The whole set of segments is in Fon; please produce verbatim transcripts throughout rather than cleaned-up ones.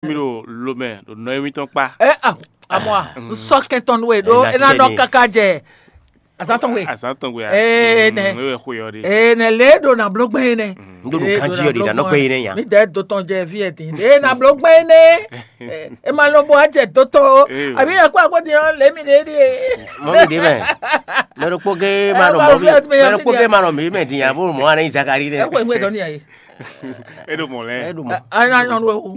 Mi ɖo lomɛ ɖo nɔ émítɔn kpá. Ɛ a, amɔ a, n sɔ kɛntɔn nú we ɖó. Ɛ, é ná nɔ káká jɛ azán tɔn we. Azán tɔn we a? Ee, nɛ. Mm, é wɛ xwe ɔ́ ɖe. Ee, nɛ lě ɖo nà bló gbɛn nɛ. N ɖo nǔ ganjí ɔ́ ɖe ɖa nɔ gbɛn nɛ nya. Mi dɛ do tɔn jɛ vi ɛ din. Ee, nà bló gbɛn nɛ. Ɛ, é ma lɔ bó a jɛ dó tɔn o. Ee. Àbí ɛ kó àgbo din ɔ lě mi ɖe ɖi. Mɔ mi ɖe mɛ. Mɛ ɖokpó gé ma nɔ mɔ mi. Mɛ ɖokpó gé ma nɔ mi mɛ din abo mɔ anɛ Zakari nɛ. Ɛ kó ɛ ŋue dɔn ni ayi. É ɖo mɔ̌ lɛ́ɛ. É ɖo mɔ̌. Ɛ, ɛ ná nyɔnu wu.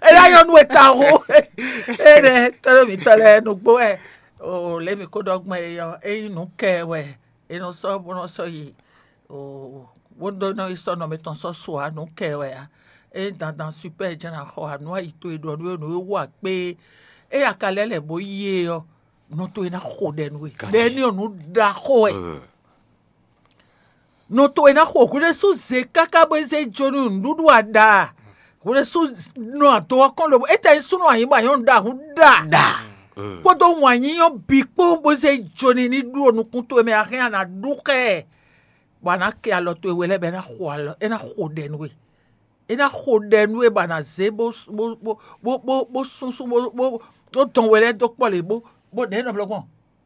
Ɛ ná nyɔnu e ta wu. É nɛ tɔ́ mǐtɔn lɛ́ɛ nǔgbó wɛ. O lě mǐ kó ɖɔ gbɔn é ɔ́, é nyí nǔ kɛ wɛ. É nɔ sɔ́ bó nɔ sɔ́ yi. O bó ɖó nɔ yi sɔ́ nɔ mǐtɔn sɔ́ su ǎ, nǔ kɛ wɛ ǎ. É nyí dandan super jɛ́n ná xɔ ǎ, nǔ ayi towe ɖɔ nú é nǔ e wú akpé. É ya ka lɛ́ lɛ̌ bó yí é ɔ́, nɔ towe ná xo ɖɛ nú we. Ɖɛ ní ɔ́ nǔ ɖaxó wɛ. Nɔ towe ná xo hwɖésú zě káká bó zé jó nú nǔɖuɖu a ɖa a? Hwɖésú nɔ ado ɔ́ kɔn lobo, étɛ́ nyí súnnu anyǐ bɔ anyɔ́nu ɖo ahun ɖa. Ɖa. Kpódó wǎn nyínyɔ́ bǐ kpó bó zé jó n'i ní ɖu nukún towe mɛ, a hɛn a nǎ ɖu xá ɛ, bɔ a nǎ kɛ alɔ towe we lɛ́ɛ bɔ é ná xo alɔ, é ná xo ɖɛ nú we. É ná xo ɖɛ nú we bɔ a nǎ zé bó bó bó bó bó bó súnsún bó bó bó dɔn we lɛ́ɛ dó kpɔ́ lě bó bó ɖɛ̌ nɔ blɔ́ gbɔn,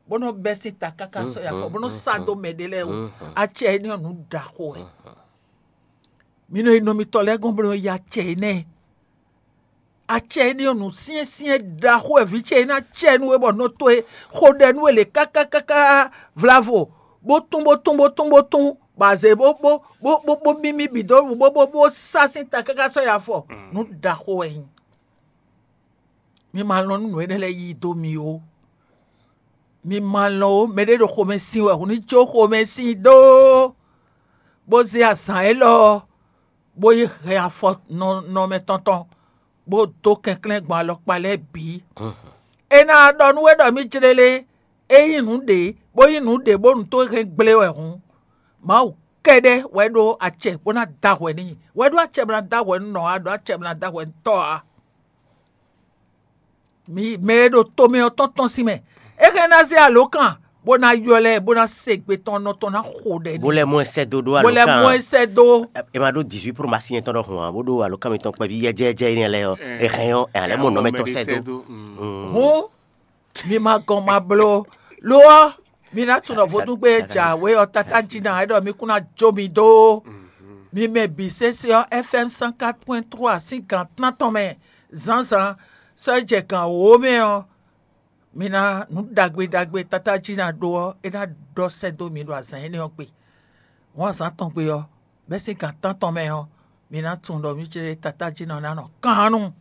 bó nɔ́ bɛ́ sín ta káká sɔ́ yi afɔ, bó nɔ́ sá dó mɛ ɖé lɛ́ɛ wú. Acɛ énɛ́ ɔ́ nǔ ɖaxó wɛ. Mi nɔ yi nɔ mitɔn lɛ́ɛ gɔ́n bó nɔ́ yi acɛ énɛ́. Acɛ énɛ́ ɔ́ nǔ syɛ́nsyɛ́n ɖaxó wɛ vǐ ce e ná acɛ nú we bɔ nɔ towe xo ɖɛ nú we lě káká káká vlavo, bó tún bó tún bó tún bó tún, bɔ azě bó bó bó bó bó mímí bǐ dó bó bó bó sá sín ta káká sɔ́ yi afɔ. Nǔ ɖaxó wɛ nyí. Mi ma lɔn nú nǔ énɛ́ lɛ́ɛ yí dó mi ó. Mi ma lɔn ó, mɛɖé ɖo xomɛ sin wɛ, hǔn ní jó xomɛ sin dó, bó zé azǎn élɔ́, bó yi hɛn afɔ nɔ nɔ mɛ tɔn tɔn, bó dó kɛnklɛ́n gbɔn alɔkpa lɛ́ɛ bǐ. É ná ɖɔ nú we ɖɔ mì jlélé, é nyí nǔɖé, bó nyí nǔɖé bónú tó hɛn gblé wɛ hǔn, Mawu kɛ́ɖɛ́ wɛ ɖó acɛ bó ná da hwɛ n'i. Wɛ ɖó acɛ bó ná da hwɛ nú nɔ ǎ, ɖó acɛ bó ná da hwɛ nú tɔ́ ǎ. Mi mɛ e ɖo tomɛ ɔ́ tɔn tɔn sín mɛ, é hɛn ná zé alǒkan bó ná ylɔ́ ɛ bó ná se gbe tɔn nɔ tɔn ná xo ɖɛ. Bó lɛ́ mɔ ɛ sɛ́ dó ɖó bó lɛ́ mɔ ɛ sɛ́ dó. È ma ɖó dix-huit promasi nyɛ tɔn ɖɔhun ǎ, bó ɖó alǒkan mitɔn kpɛví yɛjɛɛjɛ énɛ́ lɛ́ɛ ɔ́, è hɛn ɔ́, è nǎ lɛ́ mɔ nɔ mɛ tɔn sɛ́ dó. Mi ma gɔn ma bló. Lo ɔ́, mi ná tunɔ vodúngbe e jǎwe ɔ́, Tata Jina é ɖɔ mi kún ná jó mi dó. Mi mɛ bǐ sésé ɔ́, F M cent quatre point trois sín gǎn tántɔn mɛ zǎnzǎn sɔ́ yi jɛ gǎn wǒ mɛ ɔ́, mi ná nǔ ɖagbe ɖagbe e Tata Jina ɖó ɔ́, é ná ɖɔ sɛ́ dó mi ɖo azǎn énɛ́ ɔ́ gbe. Hɔn azǎn tɔn gbe ɔ́, bɛ́ sín gǎn tántɔn mɛ ɔ́, mi ná tunwun ɖɔ mì jlé Tata Jina ɔ́ ná nɔ kan nú.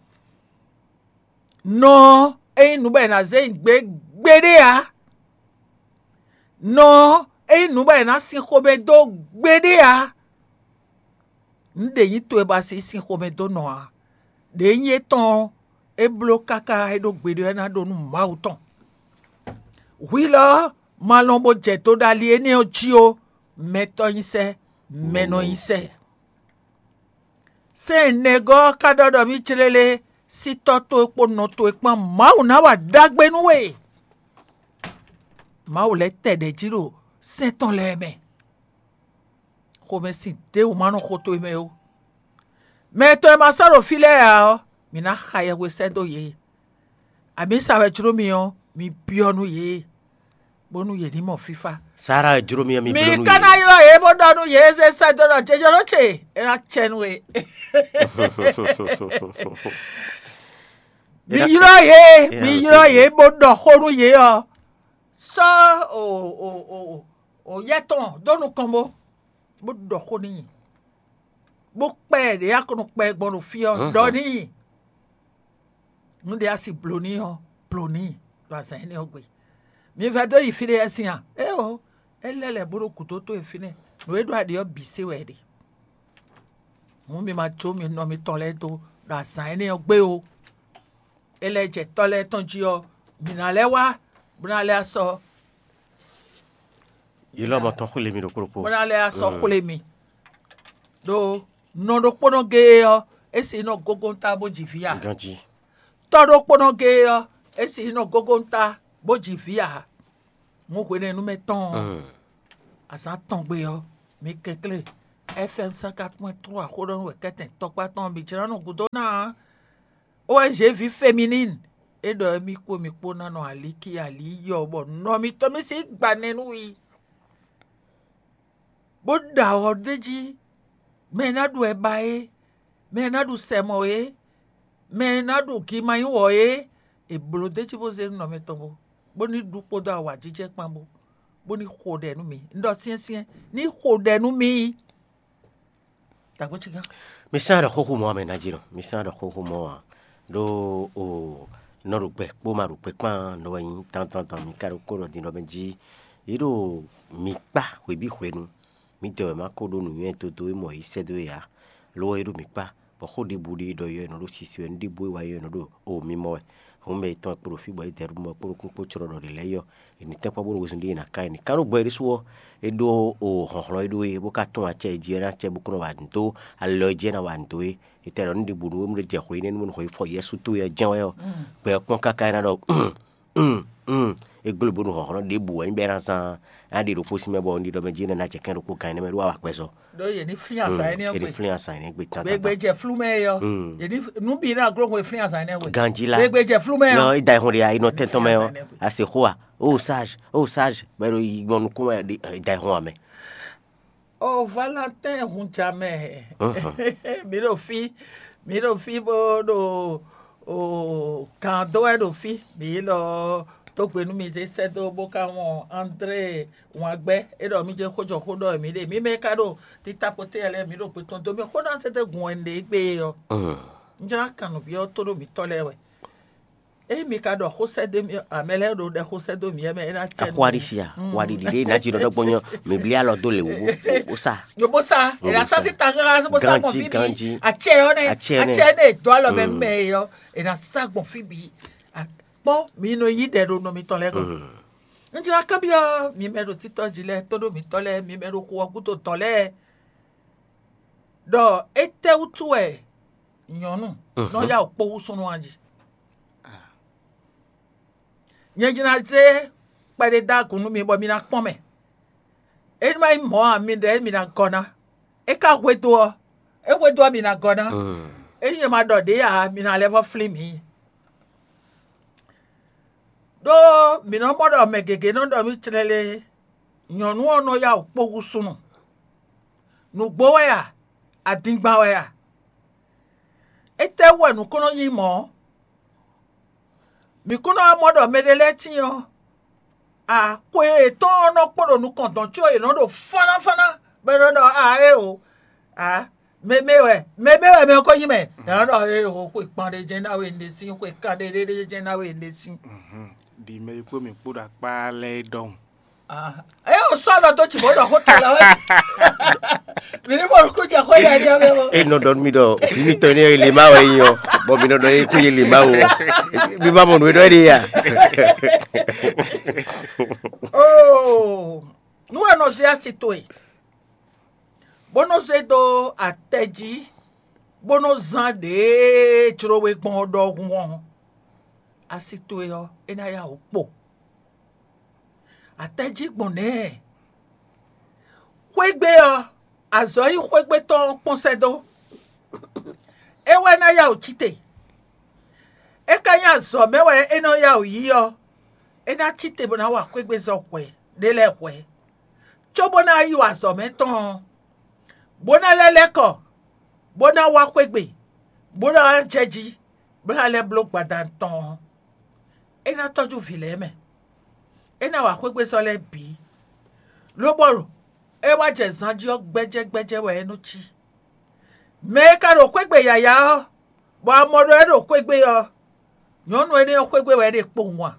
Nɔ ɔ́, é nyí nǔ bɔ è nǎ zé nyi gbě gbeɖé ǎ. Nɔ ɔ́, é nyí nǔ bɔ è nǎ sin xomɛ dó gbeɖé ǎ. Nǔ ɖě nyí towe bɔ a sixú sin xomɛ dó nɔ ǎ. Đě nyí étɔn ɔ́, é bló káká é ɖó gbeɖé ɔ́, é ná ɖo nú Mawu tɔn. Hwi lɔ ɔ́, ma lɔn bó jɛ do ɖo ali énɛ́ ɔ́ jí ó, mɛtɔ́ nyí sɛ́, mɛ nɔ nyí sɛ́. Sɛ́n nɛgɔ́ ɔ́ ka ɖɔ ɖɔ mì clélé sí tɔ́ towe kpó nɔ towe kpán Mawu ná wa ɖagbe nú we. Mawu lɛ́ tɛ ɖɛ̌ jí ɖo sɛ́n tɔn lɛ́ɛ mɛ. Xomɛsin ɖěbǔ ma nɔ xo towe mɛ ó. Mɛ tɔn e ma sɔ́ ɖo fí lɛ́ɛ ǎ ɔ́, mǐ ná xa yɛhwe sɛ́ dó yě. Amǐsa wɛ jló mi ɔ́, mi byɔ́ nú yě, bónú yě ní mɔ fífá. Sara e jló mì ɔ́, mi Mi bló nú ka yě. Ná ylɔ́ yě bó ɖɔ nú yě zé sɛ́ dó ɖɔ jɛjɛ nɔ ce, é ná cɛ nú we. Mi ylɔ́ yě, mi ylɔ́ yě bó ɖɔ xó nú yě ɔ́, sɔ́ o o o o yɛ tɔn dó nukɔn bó bó ɖɔ xó n'i, bó kpɛ ɖě a ko nɔ kpɛ gbɔn ɖo fí ɔ́, ɖɔ n'i. Nú ɖě a si blǒ n'i ɔ́, blǒ n'i ɖo azǎn énɛ́ ɔ́ gbe. Mi vɛ́ dó yi fí ɖé wɛ sín a? Éeǒ, é lɛ́ lɛ̌ bó ɖo gǔdo towe fínɛ́, nǔ e ɖo aɖě ɔ́ bǐ se wɛ é ɖe. Hǔn mi ma jó mi nɔ mitɔn lɛ́ɛ dó ɖo azǎn énɛ́ ɔ́ gbe ó. É lɛ́ jɛ tɔ́ lɛ́ɛ tɔn jí ɔ́, mǐ ná lɛ́ wá, bó ná lɛ́ asɔ Yi lɔ mɔ tɔn xwle mi ɖokpó ɖokpó. Bó ná lɛ́ asɔ xwle mi. Ɖó nɔ ɖokpónɔ géé ɔ́, é si nɔ gógóńtá bó ji vǐ a? Ganjí. Tɔ́ ɖokpónɔ géé ɔ́, é si nɔ gógóńtá bó ji vǐ a? Mɔ hwenɛ́nu mɛ tɔn ɔ́, azǎn tɔn gbe ɔ́, mi kɛnklɛ́n F M cent quatre point trois xó ɖɔ nú wɛ kɛ́tɛn tɔkpá tɔn bǐ jlá nɔ gúdo ná. O N G ví féminine é ɖɔ émí kpó mi kpó ná nɔ alíkí alí yɔ bɔ nɔ mitɔn mi sí gba nɛ́ nú i, bó ɖo awɔ ɖ'é jí. Mɛ e ná ɖu ɛba é, mɛ e ná ɖu sɛmɔ é, mɛ e ná ɖu gimanyíwɔ é, è blǒ d'é jí bó zé nú nɔ mitɔn bó, bó ní ɖu kpódó awǎjijɛ kpán bó, bó ní xo ɖɛ nú mi. Un ɖɔ syɛ́nsyɛ́n, ní xo ɖɛ nú mi. Tagbo ci gán. Mi sán ɖɔ xóxó mɔ ame ná jí nɔ. Mi sán ɖɔ xóxó mɔ ǎ. Ɖó o nɔ ɖo gbɛ kpó ma ɖo gbɛ kpán nɔ wɛ nyí dandandan mi ka ɖo kó ɖɔ din ɖɔ mɛ jí. Yě ɖo mi kpá hwebí hwenu. Mi dɛ wɛ ma ko ɖó nǔnywɛ́ dodó e mɔ yě sɛ́ dó é ǎ. Lo ɔ́, é ɖo mi kpá. Bɔ xó ɖěbǔ ɖé ɖɔ yɔ è nɔ ɖó sisi wɛ, nú ɖěbǔ e wa yɔ è nɔ ɖo o mi mɔ wɛ. Hǔn mɛ yětɔn e kpo ɖo fí bɔ é dɛ ɖo mɔ kpó nukún kpó clɔ ɖɔ ɖě lɛ́ɛ yɔ. È nǐ tɛ́nkpɔ́n bónú wezun ɖé è nǎ ká ɛ nǐ ká ɖó gbɔ é ɖésú ɔ́, é ɖó o hlɔ̌nhlɔ́n é ɖó é bó ka tún acɛ é jí wɛ ná acɛ bó kún nɔ wa nǔ dó alɔ é jí é ná wa nǔ dó é. È tɛ ɖɔ nú ɖěbǔ nú é mú ɖé jɛ xwe énɛ́ nú mɔ̌ xwe fɔ Yɛsu tó yɛ jɛ́n wɛ ɔ́, gbɛ ɔ́ kpɔ́n káká é ná ɖɔ é gbló bónú hlɔ̌nhlɔ́n ɖěbǔ wɛ nyí bɔ é ná zán á ɖe ɖokpó sín mɛ bɔ un ɖi ɖɔ mɛ jí énɛ́ ná jɛ kɛ́n ɖokpó gan énɛ́ mɛ ɖó awa kpɛzɔ. Ɖó yě ní flín azǎn énɛ́ ɔ́ gbe. Yě ní flín azǎn énɛ́ gbe tán. Gbegbe jɛ flú mɛ é ɔ́. Yě ní nú bǐ ná gló hwe flín azǎn énɛ́ gbe. Ganjí lá. Gbegbe jɛ flú mɛ ɔ́. Yɔ é da ihun ɖe ayi nɔ tɛn tɔn mɛ ɔ́. Ase xó a? Ó sage, ó sage, bɔ é ɖo yi gbɔn nukún wɛ ɖi da ihun ame. O Valentin hun jamɛ. Mǐ ɖo fí, mǐ ɖo fí bó ɖo o kan dó wɛ ɖo fí. Mǐ lɔ tó gbe nú mi zé sɛ́ dó bó ka wɔn André Wǎngbɛ́ é ɖɔ mí jɛ xójɔxó ɖɔ mǐ ɖe mǐ mɛ ka ɖo títákpɔ́tɛ́ lɛ́ɛ mǐ ɖo gbe tɔn dó mì xó ná zé dó gun wɛ un ɖe égbé ɔ́. Un jlá kan nǔ byɔ́ tó ɖo mǐtɔn lɛ́ɛ wɛ. Ényí mi ka ɖɔ xó sɛ́ dó mì amɛ lɛ́ɛ ɖo ɖɛ xó sɛ́ dó mì ɛ mɛ é ná cɛ. Axwáɖísi a? Axwáɖiɖi ɖé ná jí ɖɔ dɔgbɔn nyɔ mǐ blí alɔ dó lě wú bó sá. Yo bó sá. È ná sá sí taxáxá bó sá gbɔn fí bǐ. Acɛ ɔ́ nɛ acɛ nɛ dó alɔ mɛ mɛ ɔ́ è ná sá gbɔn fí bǐ. Kpɔ́ mi nɔ yí ɖɛ ɖo nɔ mitɔn lɛ́ɛ gɔ́. Un jlá kanbyɔ́ mi mɛ ɖo títɔ́ jí lɛ́ɛ tó ɖo mǐtɔn lɛ́ɛ mi mɛ ɖo xu ɔ́ gúdo tɔn lɛ́ɛ ɖɔ étɛ́wútu wɛ nyɔ̌nu nɔ yá wǔ kpó hú súnnu ɔ́ jí. Nyɛ jí ná zé kpɛɖé dó agun nú mi bɔ mi ná kpɔ́n mɛ. É ní ma nyí mɔ̌ ǎ, mi ɖɛ̌ mi ná gɔ́ ná. É ka hwedó ɔ́, é hwedó ɔ́ mi ná gɔ́ ná. Ényí nyɛ ma ɖɔ ɖě ǎ, mi ná lɛ́ vɔ́ flín mǐ. Ɖó mǐ nɔ mɔ ɖɔ mɛ gěgé nɔ ɖɔ mì tlɛlɛ nyɔ̌nu ɔ́ nɔ yá wǔ kpó hú súnnu. Nǔgbó wɛ a? Adingban wɛ a? Étɛ́wú wɛ nǔ ko nɔ nyí mɔ̌? Mǐ kún nɔ wá mɔ ɖɔ mɛɖé lɛ́ɛ tíin ɔ́, axwe yětɔn ɔ́ nɔ kpo ɖo nukɔn dɔ̌n có yě nɔ ɖo fánnáfánná, bɔ é nɔ ɖɔ a éeǒ, a mɛmɛ wɛ mɛmɛ wɛ mɛ ɔ́ ko nyí mɛ. Yě nɔ ɖɔ éeǒ, xwe kpan ɖé jɛ́n ná we un ɖe sín, xwe kan ɖé ɖé jɛ́n ná we un ɖe sín. Ɖi mɛ e kpó mǐ kpó ɖo akpá lɛ́ɛ é ɖɔhun. Eye o sɔ nɔ dó tsi bó ɖɔ xó tɔn lɛ wɛ. Mi ní mɔ nukún jɛ xó yɛ yɛ mɛ mɔ. E nɔ ɖɔ nú mi ɖɔ òfin mitɔn énɛ́ e lě ma wɛ nyí ɔ́, bɔ mi nɔ ɖɔ é kú yé lě ma wɛ ɔ́, mi ma mɔ nǔ e ɖɔ é ɖe ya. Oo, nú wɛ nɔ zé asi towe, bó nɔ zé dó atɛ jí, bó nɔ zán ɖěe jló we gbɔn ɔ́ ɖɔhun ɔ́, asi towe ɔ́, é ná yá wǔ kpo. Atɛ́ jí gbɔn nɛ̌? Xwégbé ɔ́, azɔ̌ nyí xwégbé tɔn ɔ́ kpɔ́n sɛ́ dó. É wɛ ná yá wǔ cí te. É ka nyí azɔ̌ mɛ wɛ é nɔ yá wǔ yí ɔ́, é ná cí te bó ná wa xwégbézɔ́ hwɛ̌ ɖé lɛ́ɛ hwɛ̌, cóbó ná yí wa azɔ̌ mɛ tɔn ɔ́, bó ná lɛ́ lɛ́ kɔ, bó ná wá xwégbé, bó ná jɛ jí, bó ná lɛ́ bló gbadanu tɔn ɔ́, é ná tɔ́jú vǐ lɛ́ɛ mɛ. É ná wa xwégbé sɔ́ lɛ́ɛ bǐ, lóbɔ é wá jɛ zan jí ɔ́, gbɛ́jɛ́ gbɛ́jɛ́ wɛ é nɔ cí. Mɛ e ka ɖo xwégbé yǎyá ɔ́, bɔ a mɔ ɖɔ é ɖo xwégbé ɔ́, nyɔ̌nu énɛ́ ɔ́ xwégbé wɛ é ɖe kpowun a?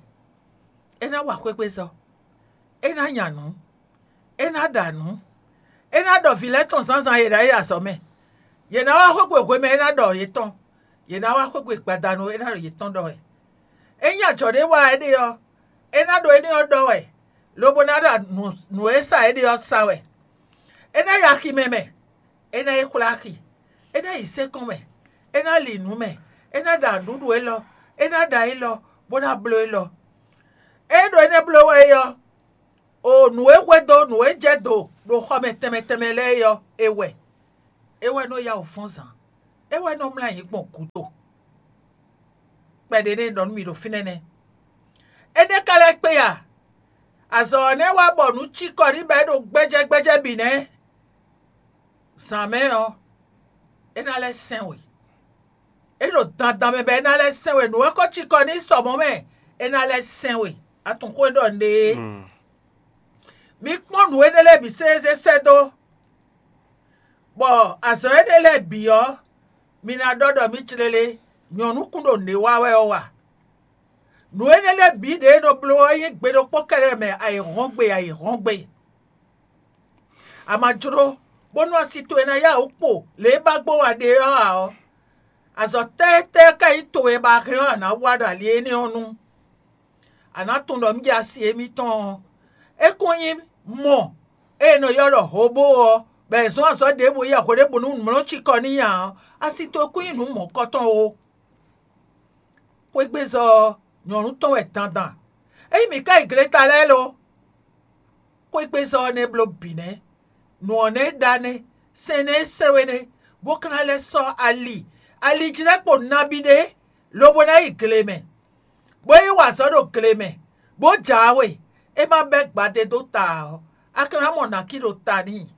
É ná wa xwégbé sɔ́, é ná nya nǔ, é ná ɖa nǔ, é ná ɖɔ vǐ lɛ́ɛ tɔn zǎnzǎn e è nǎ yi azɔ̌ mɛ. Yě ná wá xwégbé hwemɛ é ná ɖɔ yětɔn, yě ná wá xwégbé gbadanu é ná ɖo yětɔn ɖɔ wɛ. Ényí ajɔ̌ ɖé wa éɖée ɔ́, é ná ɖo énɛ́ ɔ́ ɖɔ wɛ, lobo ná ɖo nǔ e sa éɖée ɔ́ sa wɛ. É ná yi aximɛ mɛ, é ná yi xwlá axi, é ná yi sɛ́nkɔn mɛ, é ná li nǔ mɛ, é ná ɖa nǔɖuɖu élɔ́, é ná ɖa élɔ́, bó ná bló élɔ́. É ɖo énɛ́ bló wɛ é ɔ́, O nǔ e hwedó nǔ e jɛ do ɖo xɔ mɛ tɛnmɛ tɛnmɛ lɛ́ɛ é ɔ́, é wɛ. É wɛ nɔ yá wǔ fɔ́n zǎn. É wɛ nɔ mlá yě gbɔn gǔdo. Kpɛɖé nɛ́ ɖɔ nú mì ɖo fínɛ́ nɛ́. Énɛ́ ka lɛ́ kpé a? Azɔ̌ ɔ́ nɛ́ wá bɔ nǔ cikɔ ní bɔ é ɖo gbɛ́jɛ́gbɛ́jɛ́ bǐ nɛ́. Zǎn mɛ ɔ́, é ná lɛ́ sɛn we. É ɖo dandan mɛ bɔ é ná lɛ́ sɛn we. Nǔ e ko cikɔ ní sɔ mɔ̌ mɛ, é ná lɛ́ sɛn we. A tunwun xó e ɖɔ un ɖe é. Mi kpɔ́n nǔ énɛ́ lɛ́ɛ bǐ sésé sɛ́ dó, bɔ azɔ̌ énɛ́ lɛ́ɛ bǐ ɔ́, mi ná ɖɔ ɖɔ mǐ cléle nyɔ̌nu kún ɖo nǔ e wa wɛ ɔ́ wa. Nǔ énɛ́ lɛ́ɛ bǐ ɖě e nɔ bló ɔ́ nyí gbe ɖokpó kɛ́ɖɛ́ mɛ ayǐhɔ́ngbe ayǐhɔ́ngbe. A ma jló bónú asi towe ná yá wǔ kpo lě e ba gbɔn wa ɖe ɔ́ ǎ ɔ́, azɔ̌ tɛ́tɛ́ ká nyí towe ba hɛn ɔ́ a nǎ wa ɖo ali énɛ́ ɔ́ nu? A nǎ tunwun ɖɔ un jɛ asi émítɔn ɔ́. É kún nyí mɔ e è nɔ ylɔ́ ɖɔ hǒbó ɔ́, bɔ è zɔ́n azɔ̌ ɖěbǔ yi axwe ɖěbǔ nú mlɔ́ cikɔ n'i ǎ ɔ́, asi towe kún nyí nǔ mɔ̌kɔtɔn ó. Xwégbezɔ ɔ́, nyɔ̌nu tɔn wɛ dandan. Ényí mǐ ka yi gleta lɛ́ɛ lo, xwégbezɔ ɔ́ nɛ́ bló bǐ nɛ́. Nǔ ɔ́ nɛ́ ɖa nɛ́, sɛn nɛ́ sɛ́ we nɛ́, bó ka ná lɛ́ sɔ́ ali, ali jí lɛ́ kpo nabí ɖé, lobo ná yi gle mɛ, bó yi wa azɔ̌ ɖo gle mɛ, bó jǎwe, é ma bɛ́ gbadé dó ta ǎ ɔ́, a ka ná mɔ nǎkí ɖo ta n'i.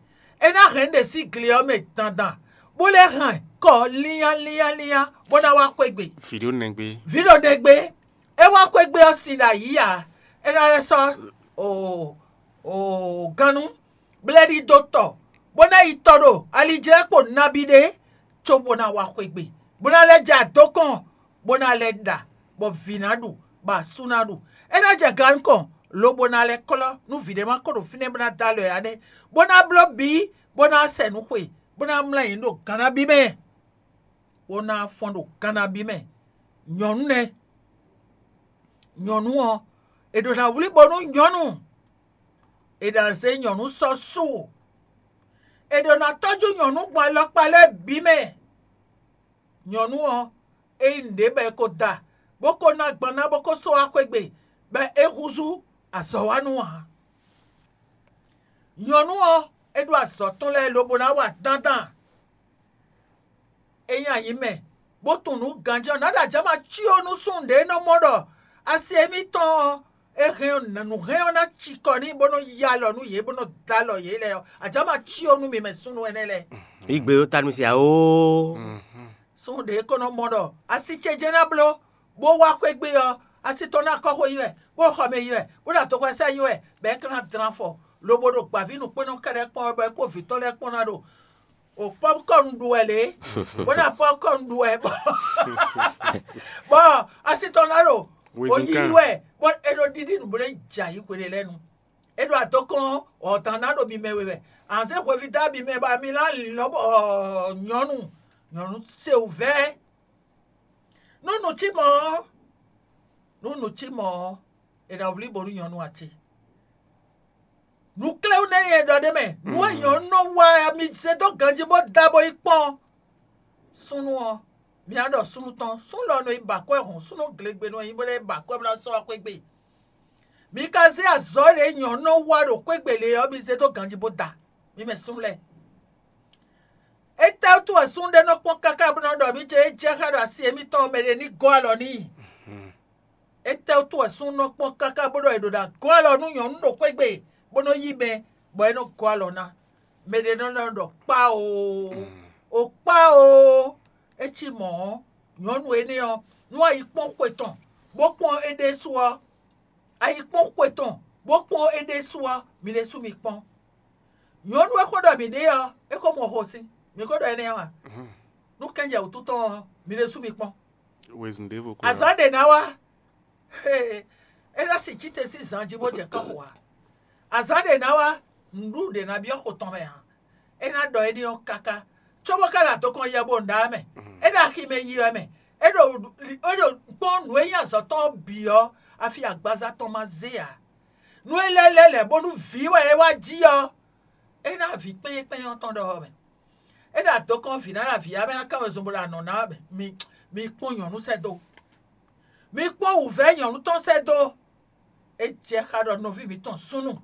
É ná hɛn ɖě sín gle ɔ́ mɛ dandan, bó lɛ́ hɛn kɔ línnyá línnyá línnyá, bó ná wá xwé gbe. Vǐ ɖo nɛgbé. Vǐ ɖo nɛgbé, é wá xwé gbe ɔ́ sin ɖo ayǐ ǎ. É ná lɛ́ sɔ́ o o gannú, bó lɛ́ ɖidó tɔ, bó ná yi tɔ ɖo alijlɛ́kpo nabí ɖé, cóbó ná wá xwé gbe, bó ná lɛ́ jɛ adɔkɔn, bó ná lɛ́ ɖa, bɔ vǐ ná ɖu, bɔ asú ná ɖu. É ná jɛ gannú kɔn, lobo ná lɛ́ klɔ́ nú vǐ ɖé ma ko ɖo fínɛ́ bó ná dó alɔ ɛ ǎ nɛ́, bó ná bló bǐ, bó ná sɛ nǔ xwe, bó ná mlá nyǐ ɖo gan nabí mɛ, bó ná fɔ́n ɖo gan nabí mɛ. Nyɔ̌nu nɛ́. Nyɔ̌nu ɔ́, è ɖǒ ná wlí bónú nyɔ̌nu, è nǎ zé nyɔ̌nu sɔ́ su. È ɖǒ ná tɔ́jú nyɔ̌nu gbɔn alɔkpa lɛ́ɛ bǐ mɛ. Nyɔ̌nu ɔ́, é nyí nǔɖé bɔ è ko da, bó ko ná gban ná bó ko sɔ́ wá xwé gbe, bɔ é húzú azɔ̌wánu ǎ. Nyɔ̌nu ɔ́, é ɖó azɔ̌ tɔn lɛ́ɛ lobo ná wa dandan. É nyí ayǐ mɛ, bó tunwun nǔ ganjí ɔ́, nǎ ɖo ajǎma cyó nú súnnu ɖě nɔ mɔ ɖɔ asi émítɔn ɔ́, é hɛn nǔ hɛn ɔ́ ná cikɔ n'i bó nɔ́ yí alɔ nú yě bó nɔ́ dó alɔ yě lɛ́ɛ ɔ́, ajǎma cyó nú mi mɛ súnnu énɛ́ lɛ́ɛ. Yí gbe ɖó ta nú mì se ǎ oo. Súnnu ɖě ko nɔ mɔ ɖɔ asi ce jɛ́n ná bló, bó wá xwé gbe ɔ́, asi tɔn ná kɔ́ xó yi wɛ, bó xɔ mɛ yi wɛ, bó ɖo adɔkɔ́sá yi wɛ, bɔ é ka ná dlán afɔ, lobo ɖo gbǎví nǔkpɛ́nnɔ kɛ́ɖɛ́ kpɔ́n wɛ bɔ é kpó vǐ tɔn lɛ́ɛ kpɔ́n ná ɖo o pɔpkɔn ɖu wɛ lě, bó ná pɔpkɔn ɖu wɛ bɔ bɔ asi tɔn ná ɖo o yiyi wɛ, bɔ é ɖo ɖiɖi nǔ bó lɛ́ jɛ ayǐ hwe ɖé lɛ́ɛ nu. É ɖo adɔkɔn ɔ̀dán ná ɖo mi mɛ we wɛ. Anzé hweví dó abi mɛ bɔ mi ná lɔ̌ bɔ nyɔ̌nu nyɔ̌nu se wǔvɛ́. Nú nǔ cí mɔ̌ ɔ́, nú nǔ cí mɔ̌ ɔ́, è nǎ wlí bónú nyɔ̌nu ǎ ce. Nǔkléwú nɛ́ nyɛ ɖɔ ɖ'é mɛ, nǔ e nyɔ̌nu nɔ wa mi zé dó ganjí bó da bó yi kpɔ́n. Súnnu ɔ́, mi ná ɖɔ súnnu tɔn, súnnu lɔ nɔ yi ba akwɛ́ hɔn, súnnu glegbe nɔ yi bó lɛ́ ba akwɛ́ bó ná sɔ́ wá xwé gbe. Mi ka zé azɔ̌ ɖě nyɔ̌nu nɔ wa ɖo xwé gbe lě ɔ́, mi zé dó ganjí bó da, mi mɛ súnnu lɛ́ɛ. Étɛ́wútu wɛ súnnu ɖé nɔ kpɔ́n káká bó nɔ́ ɖɔ mǐ jɛ é jɛ xá ɖo asi émítɔn mɛ ɖé ní gɔ́ alɔ n'i? Étɛ́wútu wɛ súnnu nɔ kpɔ́n káká bó ɖɔ è ɖo ná gɔ́ alɔ nú nyɔ̌nu ɖo xwé gbe, bó nɔ́ yí mɛ, bɔ é nɔ́ gɔ́ alɔ ná? Mɛ ɖé nɔ nɔ ɖɔ kpá oo, o kpá oo. É cí mɔ̌ ɔ́, nyɔ̌nu énɛ́ ɔ́, nú ayikpɔ́n xwe tɔn, bó kpɔ́n é ɖésú ɔ́, ayikpɔ́n xwe tɔn, bó kpɔ́n é ɖésú ɔ́, mi ɖésú mi kpɔ́n. Nyɔ̌nu e xó ɖɔ mǐ ɖe ɔ́, é xó mɔ xo sín, mǐ ko ɖɔ énɛ́ ɔ́ a? Nú kɛ́njɛ wǔtu tɔn ɔ́, mi ɖésú mi kpɔ́n. Azǎn ɖě ná wá, é ná sin cíte sín zan jí bó jɛ kɔ́xo ǎ. Azǎn ɖě ná wá, nǔɖuɖu ɖě ná byɔ́ xo tɔn mɛ ǎ. É ná ɖɔ énɛ́ ɔ́ káká, cóbó ka ɖo adɔkɔn yɛ bó ɖá mɛ. É ɖo axi mɛ yi wɛ mɛ. É ɖo é ɖo kpɔ́n nǔ e nyí azɔ̌ tɔn ɔ́ bǐ ɔ́, afi agbaza tɔn ma zé ǎ. Nú é lɛ́ lɛ́ lɛ̌ bónú vǐ wɛ é wá jí ɔ́, é ná vǐ kpɛ́nyɛ́kpɛ́nyɛ́ ɔ́ tɔn ɖɔhɔ mɛ. É ɖo adɔkɔn vǐ ná ɖo avǐ ya mɛ ná kán wezun bó ɖo anɔ̌ ná wɛ mɛ. Mi mi kpɔ́n nyɔ̌nu sɛ́ dó. Mi kpɔ́n wǔvɛ́ nyɔ̌nu tɔn sɛ́ dó. É jɛ xá ɖɔ nɔví mǐtɔn súnnu,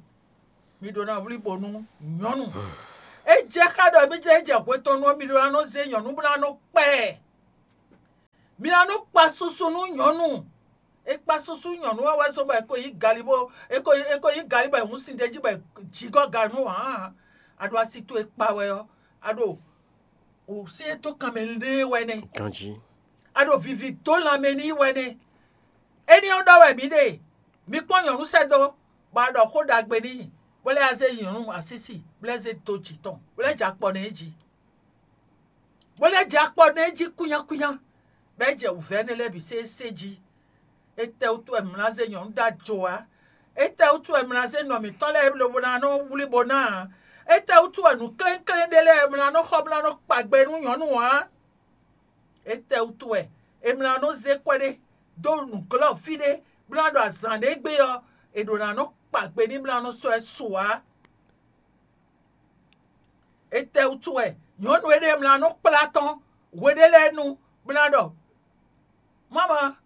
Mi ɖó ná wlí bo nú nyɔ̌nu. É jɛ xá ɖɔ mí jɛ é jɛ hwe tɔn nú ɔ́, mi ɖó ná nɔ zé nyɔ̌nu bó ná nɔ kpɛ ɛ. Mi ná nɔ kpa susu nú nyɔ̌nu. É kpa susu nyɔ̌nu ɔ́ wɛ zɔ́n bɔ è ko nyí gali bó è ko è ko nyí gali bɔ è hun sin d'é jí bɔ è jǐgɔ́ ga nú ǎ. A ɖo asi towe kpa wɛ ɔ́, a ɖo wǔsyɛ́n dó kanmɛ lé wɛ nɛ́. Ganjí. A ɖo vivi dó lanmɛ n'i wɛ nɛ́. Éní ɔ́ ɖɔ wɛ mǐ ɖe, mi kpɔ́n nyɔ̌nu sɛ́ dó, bɔ a ɖɔ xó ɖagbe n'i, bó lɛ́ zé nyɔ̌nu asísi, bó lɛ́ zé dó jǐ tɔn, bó lɛ́ jɛ akpɔ nɛ́ jí. Bó lɛ́ jɛ akpɔ nɛ́ jí kúnyákúnyá, bɔ é jɛ wǔvɛ́ énɛ́ lɛ́ɛ bǐ sésé jí. Étɛ́wútu wɛ mlá zé nyɔ̌nu dó ajo ǎ? Étɛ́wútu wɛ mlá zé nɔ mǐtɔn lɛ́ɛ lobo ná nɔ wlí bo ná ǎ? Étɛ́wútu wɛ nǔ klénklénɖé lɛ́ɛ mlá nɔ xɔ bó ná nɔ kpa gbe nú nyɔ̌nu ǎ? Étɛ́wútu wɛ è mlá nɔ zé kwɛ́ ɖé dó nǔglɔ́ fí ɖé bó ná ɖo azǎn ɖé gbe ɔ́, è ɖǒ ná nɔ kpa gbe n'i bó ná nɔ sɔ́ ɛ su ǎ? Étɛ́wútu wɛ nyɔ̌nu énɛ́ mlá nɔ kplá tɔn hwe ɖé lɛ́ɛ nu bó ná ɖɔ: "Mama,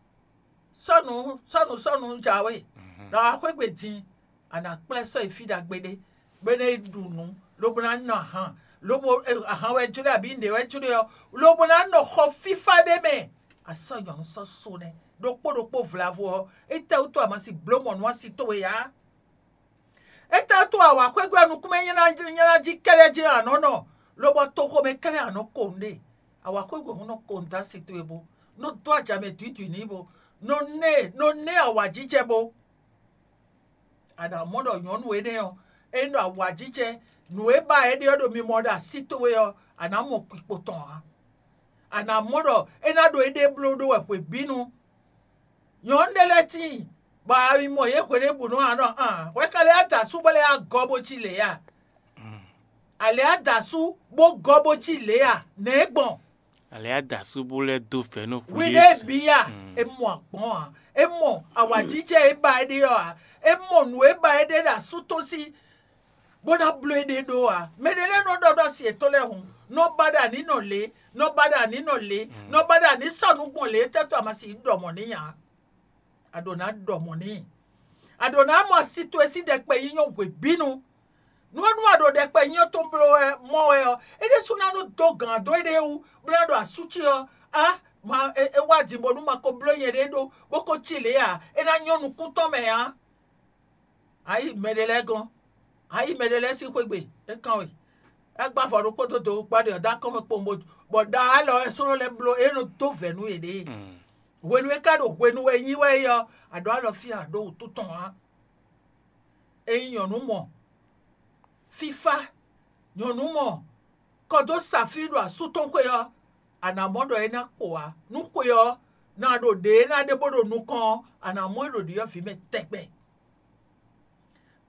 sɔ́nu sɔ́nu sɔ́nu jǎwe, ɖɔ a xwé gbe din, a nǎ kplá ɛ sɔ́ yi fí ɖagbe ɖé, bó ná yi ɖu nǔ, lobo ná nɔ ahan, lobo ahan wɛ jló abǐ nǔɖé wɛ jló ɔ́, lobo ná nɔ xɔ fífá ɖé mɛ. A sɔ́ nyɔ̌nu sɔ́ so nɛ́ ɖokpó ɖokpó vlavo ɔ́, étɛ́wútu a ma si bló mɔ nú asi towe ǎ?" Étɛ́ tó awǎxwé gbe ɔ́ nukúnmɛ nyɛ́ná jí kɛ́ɖɛ́ jí a nɔ̌ nɔ, lobɔ toxomɛ kɛ́ɖɛ́ a nɔ̌ ko nǔɖé? Awǎxwé gbe hǔn nɔ ko nǔ dó asi towe bó, nɔ dó ajǎ mɛ dwǐdwǐ n'i bó, nɔ ná ɛ nɔ ná ɛ awǎjijɛ bó. A nǎ mɔ ɖɔ nyɔ̌nu énɛ́ ɔ́, ényí ɖo awǎjijɛ nǔ e ba é ɖe ɔ́ ɖo mimɔ ɖo así towe ɔ́, a nǎ mɔ kpikpo tɔn ǎ. A nǎ mɔ ɖɔ é ná ɖo éɖée bló ɖó wɛ hwebǐnu. Nyɔ̌nu ɖé lɛ́ɛ tíin, bɔ a yi mɔ yě hweɖěbǔnu ǎ nɔ an hwɛ ka lɛ́ da asú bó lɛ́ yá gɔ́ bó cí lě a? A lɛ́ yá da asú bó gɔ́ bó cí lě a? Nɛ̌ é gbɔn? A lɛ́ yá da asú bó lɛ́ dó vɛ̌ nú hwi Hwiɖée bǐ a? É mɔ agbɔ̌n ǎ. É mɔ awǎjijɛ e ba é ɖe ɔ́ ǎ. É mɔ nǔ e ba é ɖe ɖo asú tɔn sí, bó ná bló éɖée ɖó ǎ. Mɛ ɖé lɛ́ɛ nɔ ɖɔ ɖɔ asi yětɔn lɛ́ɛ hǔn, nɔ ba ɖo anǐ nɔ lě, nɔ ba ɖo anǐ nɔ lě, nɔ ba ɖo anǐ sɔ́ nǔ gbɔn lě, étɛ́ tó a ma si ɖɔ mɔ̌ n'i ǎ? A ɖǒ ná ɖɔ mɔ̌ n'i. A ɖǒ ná mɔ asi towe sín ɖɛkpɛ nyínyɔ́ hwebǐnu. Nú ɔ́ nú a ɖo ɖɛkpɛ nyínyɔ́ tɔn bló wɛ mɔ wɛ ɔ́, é ɖésú ná nɔ dó gǎn dó éɖée wú, bó ná ɖo asú ce ɔ́, á ma é wá din bónú ma ko bló nyɛɖée ɖó, bó ko cí lě ǎ; é ná nyɔ́ nukún tɔn mɛ ǎ. A yi mɛ ɖé lɛ́ɛ gɔ́n, a yi mɛ ɖé lɛ́ɛ sín xwé gbe, é kán we. É gbá avɔ ɖokpó dó dǒ gbá ɖě ɔ́ dó akɔ́nmɛ kpowun, bó bɔ ɖa alɔ wɛ slɔ́ lɛ́ɛ bló é nɔ dó vɛ̌ nú yěɖée. Hwenu e ka ɖo hwenu wɛ nyí wɛ é ɔ́, a ɖǒ alɔ fí a ɖǒ wǔtu tɔn ǎ. Ényí nyɔ̌nu mɔ fífá, nyɔ̌nu mɔ kɔ dó sa fí ɖo asú tɔn xwé ɔ́, a nǎ mɔ ɖɔ é ná kpo ǎ. Nú xwe ɔ́ ná ɖo ɖě e ná ɖe bó ɖo nukɔn ɔ́, a nǎ mɔ é ɖo ɖyɔ̌vǐ mɛ tɛgbɛ.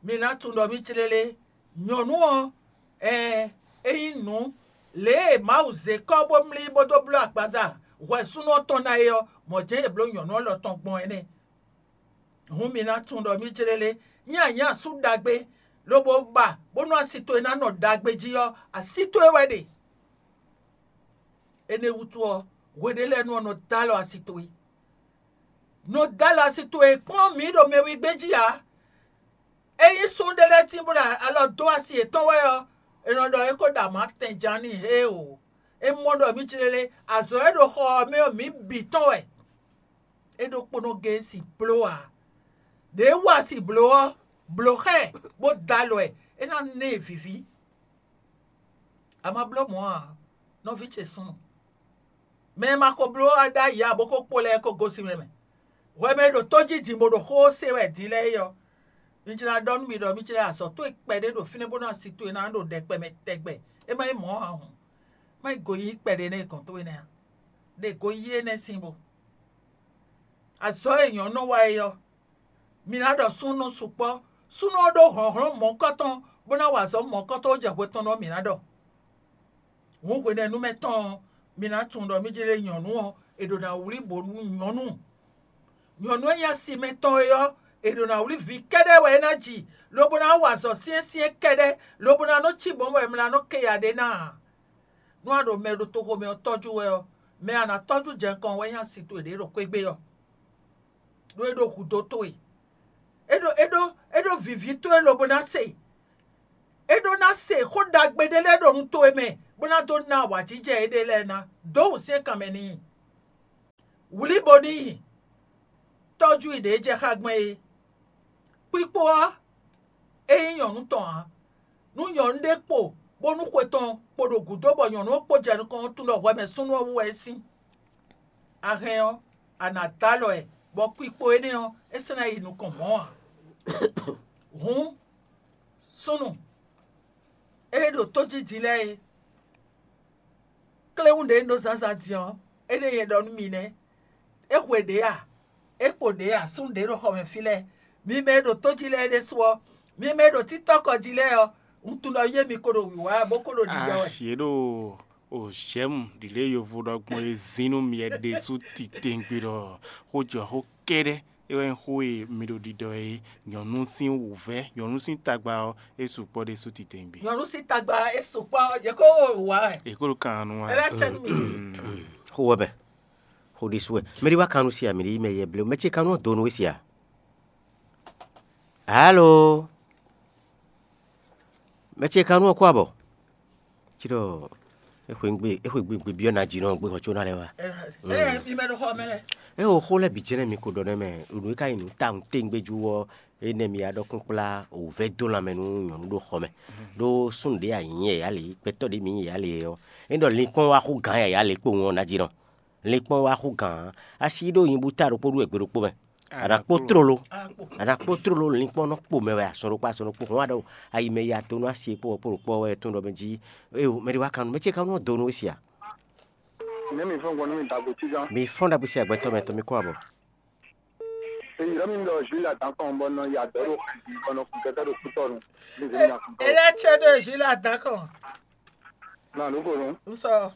Mi ná tunwun ɖɔ mì clélé, nyɔ̌nu ɔ́, ɛɛ, é nyí nǔ lě e Mawu zě kɔ́ bó mlí bó dó bló agbaza hwɛ̌súnɔ tɔn ná é ɔ́, mɔ̌ jɛ́n è blǒ nyɔ̌nu ɔ́ lɔ tɔn gbɔn é nɛ́. Hǔn mi ná tunwun ɖɔ mì clélé, nyí anyǎ asú ɖagbe, lobo ba bónú asi towe ná nɔ ɖagbe jí ɔ́, así towe wɛ ɖe. Énɛ́ wútu ɔ́, hwe ɖé lɛ́ɛ nu ɔ́, nɔ dó alɔ asi towe. Nɔ dó alɔ asi towe kplɔ́n mǐ ɖo mɛ wígbé jí ǎ. Ényí súnnu ɖé lɛ́ɛ tín bó ɖo alɔ dó asi yětɔn wɛ ɔ́, è nɔ ɖɔ é ko ɖo amǎ tɛnján n'i hé o. É mɔ ɖɔ mǐ clélé, azɔ̌ e ɖo xɔ ɔ́ mɛ ɔ́, mǐ bǐ tɔn wɛ. É ɖokpónɔ géé sin bló ǎ. Ɖě e wa sin blǒ ɔ́, blǒ xá ɛ, bó dó alɔ ɛ, é ná ná ɛ vǐví. A ma bló mɔ̌ ǎ, nɔví ce súnnu. Mɛ e ma ko bló ɔ́ ɖ'ayǐ ǎ bó ko kpo lɛ́ɛ ko gosín mɛ mɛ. Hwɛ mɛ e ɖo tó jí din bó ɖo xó ɔ́ se wɛ din lɛ́ɛ é ɔ́, un jlá ɖɔ nú mi ɖɔ mì jlɛ́ azɔ̌ towe kpɛɖé ɖo fínɛ́ bónú asi towe ná ɖo ɖɛkpɛ mɛ tɛgbɛ. É má nyí mɔ̌ ǎ hǔn, má nyí goyíyí kpɛɖé nɛ́ gɔ̌n towe nɛ́ ǎ. Ɖe goyíyí énɛ́ sín bo. Azɔ̌ e nyɔ̌nu nɔ wa é ɔ́, mi ná ɖɔ súnnu sukpɔ́. Súnnu ɔ́ ɖó hlɔ̌nhlɔ́n mɔ̌hunkɔtɔn bó ná wa azɔ̌ mɔ̌hunkɔtɔn jɛ hwe tɔn nú ɔ́, mǐ ná ɖɔ. Hǔn hwenɛ́nu mɛ tɔn ɔ́, mi ná tunwun ɖɔ mì jlɛ́ nyɔ̌nu ɔ́, è ɖǒ ná wlí bǒ nú nyɔ̌nu. Nyɔ̌nu e nyí asi mɛ tɔn é ɔ́, è ɖǒ ná wlí vǐ kɛ́ɖɛ́ wɛ é ná ji, lobo ná wa azɔ̌ syɛ́nsyɛ́n kɛ́ɖɛ́, lobo ná nɔ cí bɔ̌n bɔ è mla nɔ ké ya ɖé ná ǎ. Nú a ɖo mɛ ɖo toxo mɛ ɔ́ tɔ́jú wɛ ɔ́, mɛ a nǎ tɔ́jú jɛ nukɔn wɛ nyí asi towe ɖě ɖo xwé gbe ɔ́, ɖó é ɖó hudó towe. É ɖó é ɖó é ɖó vǐví towe lobo ná se, É ɖó ná se xó ɖagbe ɖé lɛ́ɛ ɖo nu towe mɛ, bó ná dó ná awǎjijɛ éɖée lɛ́ɛ ná. Dǒ wǔsyɛ́n kanmɛ n'i. Wlí bo n'i. Tɔ́jú i ɖě jɛ xá gbɔn é. Kpíkpó ɔ́, é nyí nyɔ̌nu tɔn ǎ. Nú nyɔ̌nu ɖé kpo bónú xwe tɔn kpo ɖo gǔdo bɔ nyɔ̌nu ɔ́ kpo jɛ nukɔn ɔ́ tunwun ɖɔ hwɛ mɛ súnnu ɔ́ wú wɛ é sín. A hɛn ɔ́, a nǎ dó alɔ ɛ, bɔ kpikpo énɛ́ ɔ́, é sɔ́ ná yi nukɔn mɔ̌ ǎ. Hǔn, súnnu, ée ɖo tójíjí lɛ́ɛ é, kléwún ɖě un ɖó zǎnzǎn din ɔ́, énɛ́ nyɛ ɖɔ nú mi nɛ́. É hwe ɖě a? É kpo ɖě a? Súnnu ɖě ɖo xɔ mɛ fí lɛ́ɛ. Mi mɛ e ɖo tó jí lɛ́ɛ ɖésú ɔ́, mi mɛ e ɖo títɔ́kɔ jí lɛ́ɛ ɔ́, un tunwun ɖɔ yé mi ko ɖo wǐwá bó ko ɖo ɖiɖɔ wɛ. Asi ɖo òzɛ́mu ɖi lě yovo ɖɔ gbɔn e zín nú myɛ ɖésú titewungbe ɖɔ xó jɔ xó kɛ́ɖɛ́ é wɛ nyí xó e mi ɖo ɖiɖɔ é. Nyɔ̌nu sín wǔvɛ́, nyɔ̌nu sín tagba ɔ́, é sukpɔ́ ɖésú titewungbe. Nyɔ̌nu sín tagba é sukpɔ́, yě ko wá wɛ. È ko ɖo kan nu wá. Ɛ lɛ́ cɛ nú mi. Xó wɛ bɛ. Xó ɖésú wɛ. Mɛ ɖé wá kan nu si a, mɛ ɖé yi mɛ yɛ blé. Mɛ ce kan nu ɔ́ do nú we si a? Alo. Mɛ ce kan nu ɔ́ kó abɔ. Ci ɖɔ é xwe gbe é xwe gbe gbe byɔ́ ná jí nɔ gbé xɔ có ná lɛ́ wá. Ɛ ɛ mi mɛ ɖo xɔ mɛ lɛ. É o xó lɛ́ɛ bǐ jɛ́nɛ mi ko ɖɔ nɛ́ mɛ, nǔ e ka nyí nǔ tawun téŋgbé jú ɔ́, énɛ́ mi ya ɖɔ kúnkplá wǔvɛ́ dó lanmɛ nú nyɔ̌nu ɖo xɔ mɛ. Ɖó súnnu ɖé a nyǐ yɛ̌yá lě, gbɛtɔ́ ɖé mi nyí yɛ̌yá lě ɔ́, é ɖɔ linkpɔ́n wá xú gǎn yɛ̌yá lě kpowun ɔ́ ná jí nɔ. Linkpɔ́n wá xú gǎn, asi ɖó nyi bú ta ɖokpó ɖú wɛ gbe ɖokpó mɛ. A nǎ kpó tlolo, a nǎ kpó tlolo linkpɔ́n nɔ kpo mɛ wɛ azɔn ɖokpó azɔn ɖokpó hɔn aɖɔ ayi mɛ ya to nú asi e kpó wɛ kpó ɖokpó wɛ tɔn ɖɔ mɛ jí. Eo mɛ ɖé wá kan nú mɛ ce kan nú ɔ́ do nú we sia. Nɛ̌ mi fɔ́n gbɔn nú mi dagbo cí gán? Mi fɔ́n ɖagbe sia gbɛtɔ́ mɛ tɔn mi kó abɔ. Èyí rɔ mi ɖɔ Jules Adan kɔn bɔ nɔ ya dɔ ɖo xɛji bɔ nɔ kun kɛkɛ ɖo kútɔnu. Ní zemi na kun tɔ. Ele tsɛ ɖo Jules Adan kɔn. Na nu ko nu. N sɔ.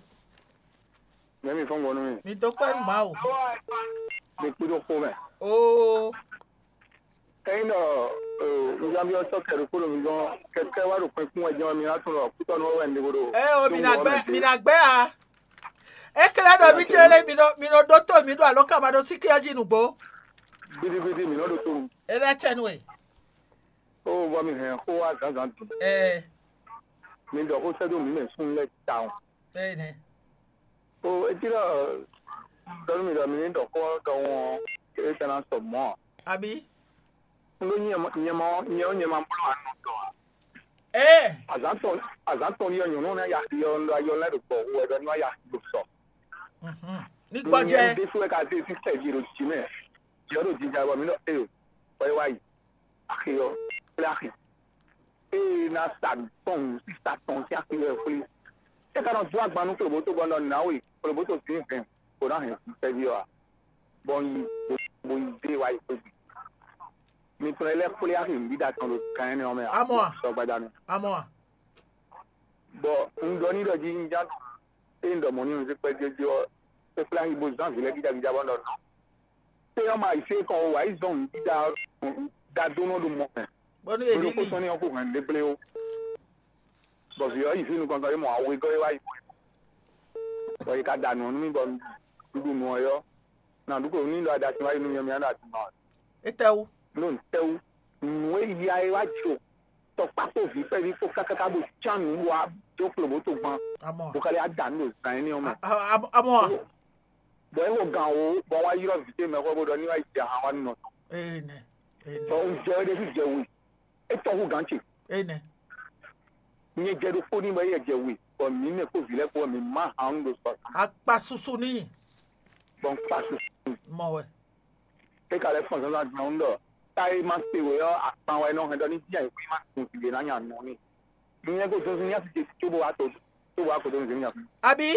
Nɛ̌ mi fɔ́n gbɔn nú mi? Mi dó kpɛ́ nú Mawu. Mi kpí ɖó xó mɛ. Oo. Ényí ɖɔ nzambi ɔ́ sɔ́ kɛ ɖokpó ɖo mi gɔ́n kɛkɛ wá ɖo kpɛn kún wɛ jɛ́n ɔ́, mi ná tunwun ɖɔ kútɔ́nú wɛ un ɖe bó ɖo. Ɛ o, mi ná gbɛ, mi ná gbɛ a? É klɛ́ ɖɔ mì clé lé mi nɔ mi nɔ ɖótó mǐ ɖo alɔkama ɖo síkí ɔ́ jí nǔgbó. Gbidigbidi mǐ nɔ ɖo to nu. É lɛ́ cɛ nú we. Ó vɔ mi hɛn xó wá zǎnzǎn din. Ɛ Mi ɖɔ xó sɛ́ dó mǐ mɛ súnnu lɛ́ɛ tawun. Ɛ nɛ. Ó etí ɖɔ ɖɔ nú mi ɖɔ mi ní ɖɔ xó ɔ́ ɖɔhun ɔ́, é ka ná sɔ mɔ̌ ǎ. Abǐ? Un ɖó nyɛ nyɛ mɔ nyɛ ɔ́ nyɛ ma bló anu tɔn ǎ. Ɛ Azǎn tɔn azǎn tɔn ɖi ɔ́ nyɔ̌nu ɔ́ ná ya xi ɔ́ un ɖo ayɔ lɛ́ɛ ɖo gbɔ hu wɛ ɖɔ ní wá ya xi ɖo sɔ. Mhm. Ní gbɔjɛ. Nyɛ ɖésú wɛ ka zé sísɛ jí ɖo jǐ mɛ. Jǐ ɔ́ ɖo jija bɔ mǐ ɖɔ ée o, bɔ é wá yi. Axi ɔ́, kplé axi. Ée ná sa tɔn sísa tɔn sín axi wɛ xwlé. É ka nɔ dó agban nú Klobǒto bɔ nɔ nǎwe Klobǒto zǐn hɛn bó ná hɛn sísɛ́ví ɔ́ ǎ. Bɔ un yi bó yi zé wá yi xwé gbe. Mi tunwun lɛ́ xwlé axi nǔɖiɖa tɔn ɖo gan énɛ́ ɔ́ mɛ ǎ. Amɔ a? Sɔ gbadanu. Amɔ a? Bɔ un ɖɔ n'i ɖɔ jí un ján ɖu ée un ɖɔ mɔ̌ n'i un zé kpɛ́ jɛ́jɛ́ ɔ́, é xwlé axi bó zán vǐ lɛ́ɛ gíjagíja bɔ un ɖɔ nɔ́. Té ɔ́ ma yi fí é kɔn o, wǎ yi zɔn nǔɖiɖa ɔ́ ɖadónú ɔ́ ɖo mɔ mɛ. Bónú è Bónú ní xó tɔn ní ɔ́ xo hɛn ɖéblé ó. Bɔ vǐ ɔ́ yi fí nukɔn tɔn é mɔ awegɔ́ é wá yi bɔ é ka da nǔ ɔ́ nú mì bɔ un ɖu nǔ ɔ́ yɔ́. Nǎ ɖu klo ní ɖɔ aɖasin wá yi nú nyɛ mì á ɖo aduma. Étɛ́wú? Nú tɛ́wú nǔ e ya é wá jǒ tɔkpá kpó vǐ kpɛví kpó kákáká bó cán nǔ wá dó Klobǒto gban. Amɔ. Bó ka lɛ́ wá da nǔ ɖo zǎn énɛ́ ɔ́ mɛ. Amɔ a? Bɔ é xo gǎn wǒ bɔ wá ylɔ́ vǐ ce mɛxó bó ɖɔ ní wá yi jɛ ahan wá nú nɔ tɔn. Ee nɛ. Ee nɛ. Bɔ un jɛ wé ɖésú jɛ we. É tɔ́ hú gǎn ce. Ee nɛ. Nyɛ jɛ ɖokpó ní bɔ éyɛ jɛ we, bɔ mǐ mɛ kpó vǐ lɛ́ɛ kpó wɛ mǐ má han ɖo sɔ. Akpa susu ní. Bɔ un kpa susu. Mɔ wɛ. É ka lɛ́ fɔ́n zǎnzǎn gbɔn ɖɔ tá é má se wě ɔ́, akpan wɛ é nɔ hɛn ɖɔ ní jí ayǐhúlí má sun vǐ ɖé ná nya nɔ n'i. Nyɛ ko zɔnzɔn nyá sí ce cóbó wá to cóbó wá ko dó nǔ zé nya fún. Abǐ?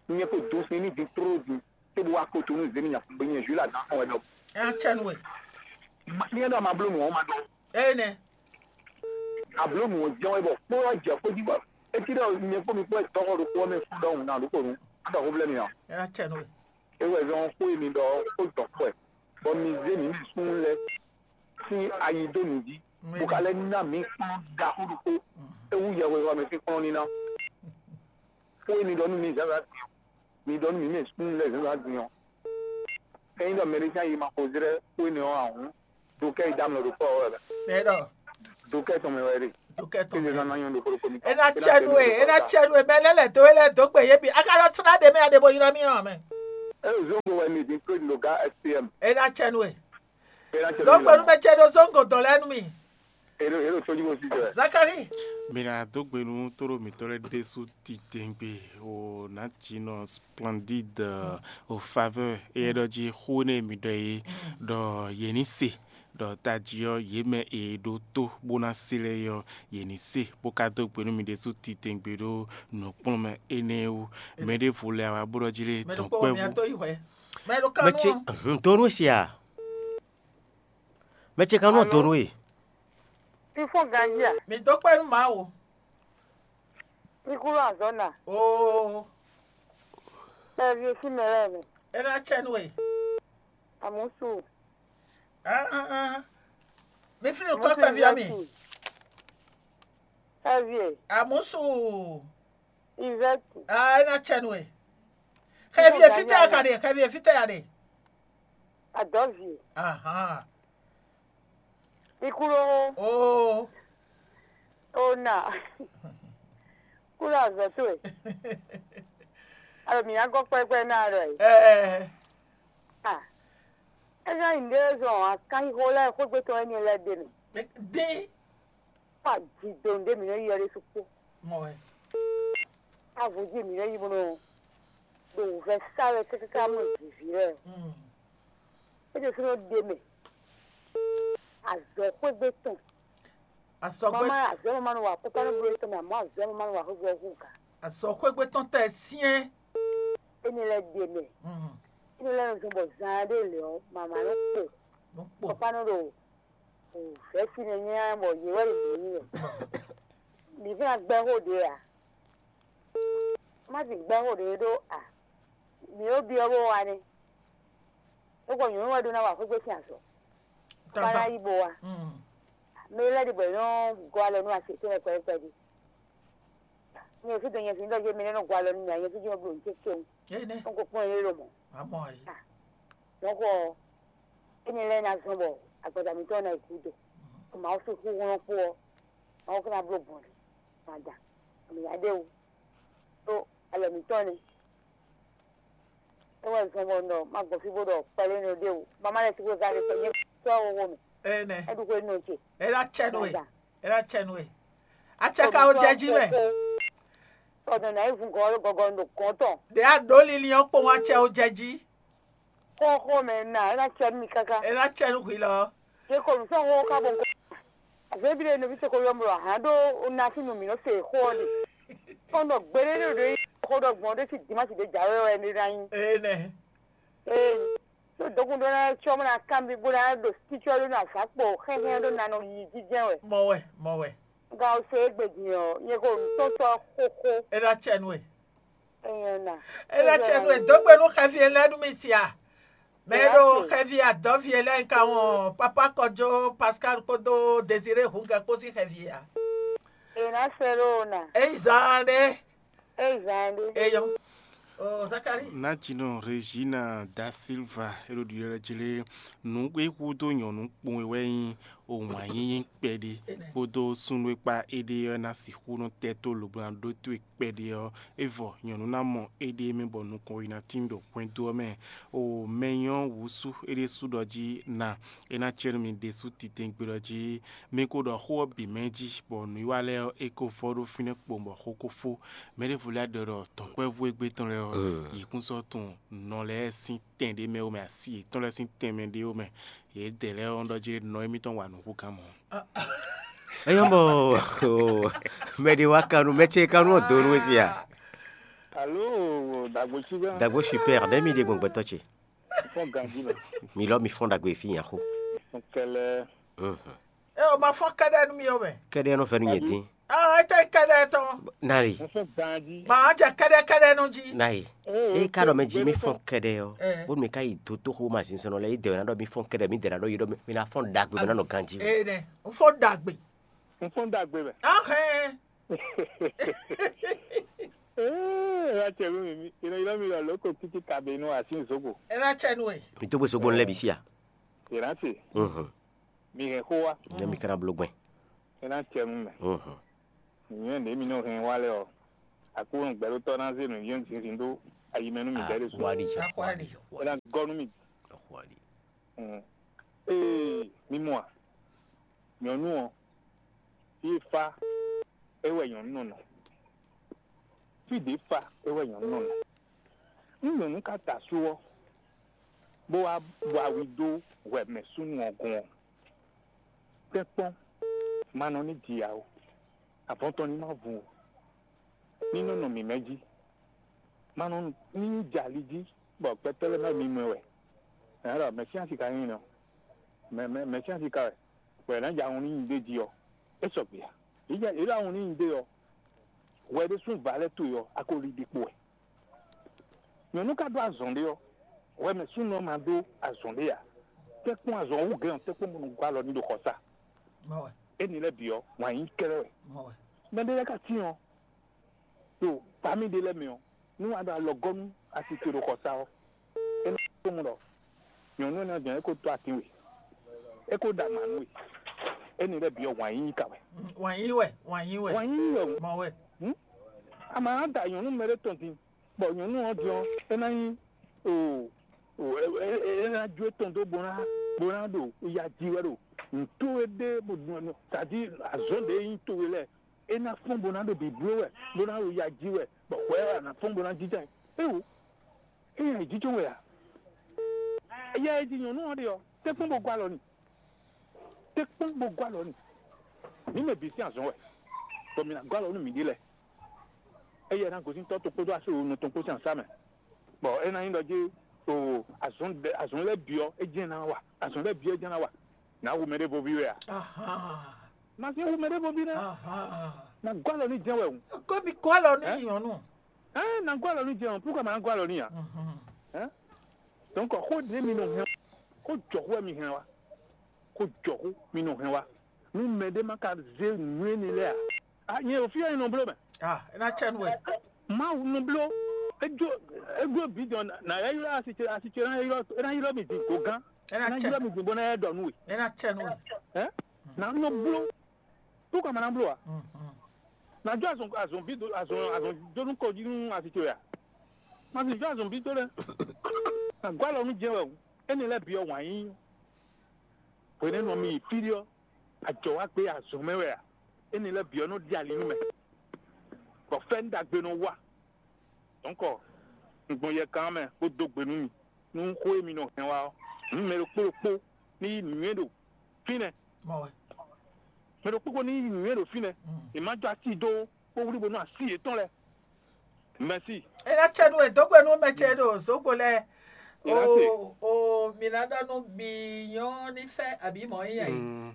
Nyɛ ko dó sin ní din tlóló din cóbó wá ko to nú zé ní nya fún gbé nyɛ Jules Adan kɔn wɛ ɖɔ. Ɛ á cɛ nú we. Nyɛ ɖɔ ma bló nǔ ɔ́ ma ɖɔ. Ɛ nɛ. Abló nǔ ɔ́ jɛ́n wɛ bɔ kpó ɔ́ jɛ xwé jí bɔ é cí ɖɔ nyɛ kpó mi kpó wɛ dɔ́xɔ ɖokpó ɔ́ mɛ fún ɖɔhun ná ɖokpó nu. Á ɖɔ xó blɛ́ mi ǎ. Ɛ á cɛ nú we. É wɛ zɔn xó e mi ɖɔ xó dɔn xó wɛ, bɔ mi zé mǐ mɛ súnnu lɛ́ɛ sín ayi dó nǔ jí, bó ka lɛ́ ná mǐ kplɔ́n ɖaxó ɖokpó, é wú yɛhwexɔ mɛ sín kplɔ́n níná. Xó e mi ɖɔ nú mi zǎnzǎn din ɔ́, mi ɖɔ nú mǐ mɛ súnnu lɛ́ɛ zǎnzǎn din ɔ́. Ényí ɖɔ mɛɖé sín ayi ma xo zlɛ́ xó énɛ́ ɔ́ ǎ hǔn, do kɛ́ yi dó amlɔ ɖo kpɔ́ ɔ́ wɛ. Mɛ ɖɔ. Do kɛ́ tɔn mɛ wɛ ɖe. Dukɛ tɔn mɛ. Ena cɛnu e, ena cɛnu e, mɛ lɛ lɛ do e lɛ do gbe ye bi. Aka lɔ sra de mɛ ade bo yira mi hàn mɛ. Ena cɛnu e. Zongo wɛ mi din ko no ga S P M. Ena cɛnu e. Ena cɛnu. Do gbenu mɛ cɛ do zongo dɔn lɛ nu mi. Ero ero soji mo si jɛ. Zakari. Mi na do gbenu toro mitɔ lɛ desu titengbe o na ti nɔ splendide o faveur e ɖɔ ji xu ne mi ɖɔ ye ɖɔ ye ni se ɖɔ taji ɔ́ yě mɛ e ɖó tó bó ná se lɛ́ɛ ɔ́, yě ní se bó ka dó gbe nú mi ɖésú titewungbe ɖó nǔkplɔ́nmɛ énɛ́ wú. Mɛ ɖěvo lɛ́ɛ wá bó ɖɔ jí lé dɔ̌nkpɛvú. Mɛ ɖo mɛ ce kanú ɔ́. Donu e se a? Mɛ ce kanú ɔ́. Alo? Donu e. Fífɔ́n ganjí a? Mi dó kpɛ́ nú Mawu. Ikú lɔ azɔ̌ na. Oo. Ɛvi e sín mɛ lɛ́ɛ mɛ. É ná cɛ nú we. Àmúsù. Ah, ah, ah. Mi fínú kɔ́ kpɛví ɔ́ mi. Xɛvi e. Àmúsù. Izɛti. Ah, é ná cɛ nú we. Xɛvi e fítɛ́ ya ka ɖe? Xɛvi e fítɛ́ ya ɖe? Adɔvi. Ahan. Ikúɖó. Oo. Ona. Kúɖó azɔ̌ towe. Alo mǐ ná gɔ́ kpɛ́kpɛ́ ná ɖɔ e. Ɛɛ. Ah. É ná nyí ɖé zɔn akánxixo lɛ́ɛ xwégbé tɔn énɛ́ lɛ́ɛ ɖe mɛ. Dín. Kpó ajido ɖé mǐ nɔ yi ɔ́ ɖésú kpó. Mɔ wɛ. Avɔjí mǐ nɔ yi bó nɔ ɖo wǔvɛ́ sá wɛ káká mɔ jǐví lɛ́ɛ. Mm. É ɖésú nɔ ɖe mɛ. Azɔ̌ xwégbé tɔn. Azɔ̌ xwé. Mama azɔ̌ mama nɔ wa kópa nɔ bló tɔn mɛ, àmọ́ azɔ̌ mama nɔ wa xwégbé ɔ́ hú gǎ. Azɔ̌ xwégbé tɔn tɛ syɛ́n. Énɛ́ lɛ́ɛ ɖe mɛ. Mm. Énɛ́ lɛ́ɛ nɔ zɔn bɔ zaan ɖé lě ɔ́, mama nɔ kpo. Nɔ kpo. Kópa nɔ ɖo vɛ̌si nɛ nyanya bɔ yě wɛ ɖo mǐ wɛ. Mǐ fɛ́n ná gbɛ́ xó ɖě ǎ. Má ti gbɛ́ xó ɖě ɖó a. Mǐ ɖo byɔ́ bó wa nɛ́. É kɔ nyɔ̌nu wɛ ɖó ná wa xwé gbé sín azɔ̌. Bá ná yí bó wa. Mm. Mɛ lɛ́ɛ ɖi bɔ è nɔ gɔ́ alɔ nú asi tɛ́nɛ́ kpɛɖé kpɛɖé. Nyɛ fí dɔn nyɛ fí ɖɔ jɛ mɛ lɛ́ɛ nɔ gɔ́ alɔ nú mì ǎ, nyɛ fí jɛ nɔ bló nǔ ce kɛwun. Énɛ́. Nɔ ko kpɔ́n yě lomɔ̌. Amɔ ayi. Mɔ̌ xɔ énɛ́ lɛ́ɛ ná zɔ́n bɔ agbada mǐtɔn ná yi gúdo. Mawu sú xúxú nɔ kpó ɔ́, Mawu ká ná bló gbɔn nǔ. Mada, mǐ ná ɖe wú ɖó alɔ mǐtɔn nɛ́. É wɛ zɔn bɔ un ɖɔ má gbɔn fí bó ɖɔ kpɛɖé nɔ ɖe wú. Má má lɛ́ sí xwé gán ɖé sɔ nyɛ sɔ́ xóxó mɛ. Énɛ́. É ɖu xwé nɔ ce. É ná cɛ nú we. Mada. É ná cɛ nú we. Acɛ ka wo jɛ jí mɛ. Tɔdɔn ná yi vun gɔgɔ ɖo gɔgɔ ɖo gɔn tɔn. Ɖě a ɖǒ linlin ɔ́ kpowun acɛ wo jɛ jí. Xóxó mɛ ná é ná cɛ nú mi káká. É ná cɛ nú hwi lɔ. Yě kɔ nǔ sɔ́ xóxó ká bɔ nukɔn. Azɔ̌ ébi ɖé nɔví ce ko yɔ mlɔ ahan ɖó un ná sín nu mǐ nɔ se xó ɔ́ ɖe. Kɔn ɖɔ gbeɖé ɖo ɖo yi xó ɖɔ gbɔn ɖé sí dimási ɖé jǎwe wɛ é ná nyí. Énɛ́. Ee, ɖó dɔkun ɖó ná cɔ́ bó ná kanbi bó ná ɖo sícɔ́ ɖó ná zǎn kpo xɛnxɛn ɖó ná nɔ yi jínjɛ́n wɛ. Mɔ wɛ, mɔ wɛ. Gǎn ɔ́ se égbé din ɔ́, nyɛ ko nǔ tɔn sɔ́ xóxó. É ná cɛ nú we. Enye na. É ná cɛ nú we. Dó gbe nú xɛvi e lɛ́ɛ nú mi sia. Mɛ e ɖo xɛvi adɔvi e lɛ́ɛ ka wɔn papa kɔjó Pascal kpódó Désiré Hungɛ kpó sín xɛvi a. È nǎ sɛ́ ɖó o nǎ. É yi zaan ɖé. É yi zaan ɖé. Eyɔn. O Zakari. Natino Regina da Silva e ɖo ɖiɖɔ ɖe jí lé nǔ e hudó nyɔ̌nu kpowun e wɛ nyí o wǎn yíyí kpɛɖé kpódó súnnu e kpa éɖée ɔ́ ná sixú nɔ tɛ́ tó lobo ná ɖótó e kpɛɖé ɔ́, é vɔ nyɔ̌nu ná mɔ éɖée mɛ bɔ nukɔn yi ná tín ɖo hwɛndo ɔ́ mɛ. O mɛ nyɔ́ wǔ sú é ɖésú ɖɔ jí ná é ná cɛ́ nú mi ɖésú titɛngbé ɖɔ jí mi ko ɖɔ xó ɔ́ bǐ mɛ jí, bɔ nǔwiwa lɛ́ɛ ɔ́, é ko vɔ ɖó fínɛ́ kpowun bɔ xó ko fó. Mɛ ɖěvo lɛ́ɛ ɖɔ ɖɔ dɔ̌nkpɛvú égbé tɔn lɛ́ɛ ɔ́, yě kún sɔ́ tunwun nɔ lɛ́ɛ sín tɛn ɖé mɛ ó mɛ, asi yětɔn lɛ́ɛ sín tɛn mɛ ɖé ó mɛ. Yědɛɛ lɛ́ɛ ɔ́ ɖɔ jí nɔ émítɔn wa nǔ hú gán mɔ̌. Eyɔ́ mɔ mɛ ɖé wá kanú, mɛ ce kanú ɔ́ dó nú we sia. Alo, dagbo tsi gã. Dagbo super, ɖe mi ɖe gbɔn gbɛtɔ ce. Fɔn ganji mɛ. Mi lɔ mi fɔn dagbo efi yan xo. Kɛlɛ. Mhm. E o ma fɔn kɛɖɛ nú mi o mɛ. Kɛɖɛ nɔ fɛ nú nyɛ dín. Ah, ete kɛɖɛ tɔn. Nari. Fɔn ganji. Ma jɛ kɛɖɛ kɛɖɛ nú ji. Nari. E ka ɖɔ mɛ ji mi fɔn kɛɖɛ ɔ. Eh. Bó mi ka yi dó tó xó ma zin sɔnɔ lɛ, e dɛ wɛ na ɖɔ mi fɔn kɛɖɛ, mi dɛ na ɖɔ yi ɖɔ mi na fɔn dagbe mɛ na nɔ ganji. Eh, ne. N fɔn dagbe. N fɔn dagbe mɛ. Ahɛn. Ee, ena cɛ nú mi, mi, ena ylɔ́ mi ɖɔ lǒ ko títí kabenu así zogo. Ena cɛ nú we. Mi tó gbé sogbo lɛ bǐ sí a? Ena se. Mhm. Mi hɛn xó wá. Ne mi kana bló gbɛn. É ná cɛ nú mɛ. Nǔnywɛ́ ɖě mi nɔ hɛn wá lɛ́ɛ ɔ́, Aklúnɔ gbɛɖótɔ́ ná zé nǔnywɛ́ zinzin dó ayi mɛ nú midɛɛ ɖésú. Akwali, É ná gɔ́ nú mi. Akwali. Mm. Ee, mi mɔ a? Nyɔ̌nu ɔ́, fí e fá é wɛ nyɔ̌nu nɔ nɔ. Fí ɖě fá é wɛ nyɔ̌nu nɔ nɔ. Nú nyɔ̌nu ka ta asú ɔ́, bó wá wa wi dó hwɛ mɛ súnnu ɔ́ gɔ́n ɔ́, tɛ́nkpɔ́n ma nɔ ní ji ǎ ó. Avɔn tɔn ní ma vun ó. Ní nɔ nɔ mǐmɛ́ jí. Ma nɔ ní jɛ ali jí bɔ gbɛtɔ́ lɛ́ɛ má mimɔ ɛ wɛ. Ɛ̌ ɖɔ Mɛsíasi ka nyí nɔ? Mɛ mɛ Mɛsíasi ka wɛ, bɔ è nǎ jɛ ahun ní nyi ɖ'é jí ɔ́, é sɔgbe ǎ. Yě jɛ yě ɖo ahun ní nyi ɖ'é ɔ́, hwɛ ɖésú va lɛ́ towe ɔ́, a ko li ɖi kpo wɛ. Nyɔ̌nu ka ɖó azɔn ɖé ɔ́, hwɛ mɛ súnnu ɔ́ ma ɖó azɔn ɖé ǎ. Tɛ́nkpɔ́n azɔn wú gɛ́n ɔ́, tɛ́nkpɔ́n bó nɔ gɔ́ alɔ ní ɖo xɔsá. Énɛ́ lɛ́ɛ bǐ ɔ́, wǎn yíyí kɛ́ɖɛ́ wɛ. Mɛ ɖé lɛ́ɛ ka cyɔ́n ɖo bami ɖé lɛ́ɛ mɛ ɔ́, nú a ɖo alɔ gɔ́ nú asi ce ɖo xɔsá ɔ́, é nɔ tunwun ɖɔ nyɔ̌nu énɛ́ ɔ́ jɛ́n é ko dó atín we, é ko ɖo ama nú we. Énɛ́ lɛ́ɛ bǐ ɔ́, wǎn yíyí ka wɛ. Wǎn yí wɛ, wǎn yí wɛ. Wǎn yíyí wɛ o. Mɔ wɛ. Hmm? A ma ná da nyɔ̌nu mɛ ɖé tɔn din, bɔ nyɔ̌nu ɔ́ din ɔ́, é ná nyí o o é é é ná jó étɔn dó bó ná bó ná ɖo ya ji wɛ ɖo nǔtó e ɖe bó nɔ tadi azɔ̌ ɖě nyí towe lɛ́ɛ, é ná fɔ́n bó ná ɖo bǐbló wɛ, bó ná ɖo ya ji wɛ, bɔ hwɛ wɛ a nǎ fɔ́n bó ná jínjɔ́n ɛ. Éwo, é nyí ayǐjínjɔ́n wɛ a? Yɛ e ji nyɔ̌nu ɔ́ ɖe ɔ́, tɛ́nkpɔ́n bó gɔ́ alɔ n'i. Tɛ́nkpɔ́n bó gɔ́ alɔ n'i. Mǐ mɛ bǐ sín azɔ̌ wɛ, bɔ mǐ ná gɔ́ alɔ nú mǐɖée lɛ́ɛ. Éyɛ́ ná gosín tɔ́ tokpódó asú nɔ tɔn kpó sín asá mɛ, bɔ é ná nyí ɖɔ jí o azɔn azɔn lɛ́ɛ bǐ ɔ́, é jɛ́n ná wa, azɔn lɛ́ɛ bǐ ɔ́ é jɛ́n ná wa. Nǎ hu mɛɖévóví wɛ a? Ma sín hu mɛɖévóví nɛ́. Ná gɔ́ alɔ ní jɛ́n wɛ hǔn. Kó mi kó alɔ ní nyɔ̌nu. Ɛ́, ná gɔ́ alɔ ní jɛ́n o, púkɔ ma ná gɔ́ alɔ ní ǎ? Ɛ́, donc xó ɖě mi nɔ hɛn, xó jɔxó wɛ mi hɛn wa. Xó jɔxó mi nɔ hɛn wa. Nú mɛɖé má ka zé nǔ énɛ́ lɛ́ɛ ǎ, a nyɛ ɖo fí wɛ nyɛ nɔ bló mɛ. Ah, é ná cɛ nú wɛ. Mawu nɔ bló. Églo églo bǐ dɔn nà yɛ ylɔ́ asi ce asi ce ná ylɔ́ é ná ylɔ́ mi din gǒgán. É ná ylɔ́ mi din bó ná yɛ ɖɔ nú we. É ná cɛ nú wɛ. Ɛ nà nɔ bló. Tó ka ma ná bló a? Nà jó azɔn azɔn bí azɔn azɔn dó nú kɔ jí nú asi ce wɛ a? Ma sì jó azɔn bí tó lɛ. Nà gɔ́ alɔ nú jɛ wɛ o. Énɛ́ lɛ́ɛ bǐ ɔ́ wǎn yí. Hwenɛ́nu ɔ́ mi yi fí ɖé ɔ́, ajɔ wá gbé azɔ̌ mɛ wɛ a? Énɛ́ lɛ́ɛ bǐ ɔ́ nɔ ɖi ali nú mɛ, bɔ fɛ́nú ɖagbe nɔ wa. Dɔ̌nkɔ, un gbɔn yɛkan mɛ bó dó gbe nú mi, nú xó e mi nɔ hɛn wá ɔ́, nú mɛ ɖokpó ɖokpó ní yí nǔnywɛ́ ɖo fínɛ́. Mɛ ɖokpó ko ní yí nǔnywɛ́ ɖo fínɛ́, è má jó así dó bó wlí bónú así yětɔn lɛ́ɛ. Mɛ̌si. É ná cɛ nú wɛ dó gbe nú mɛ ce ɖo zǒgbo lɛ́ɛ. O o mi ná ɖɔ nú mi nyɔ́ ní fɛ́ abǐ mɔ̌ nyí yɛ.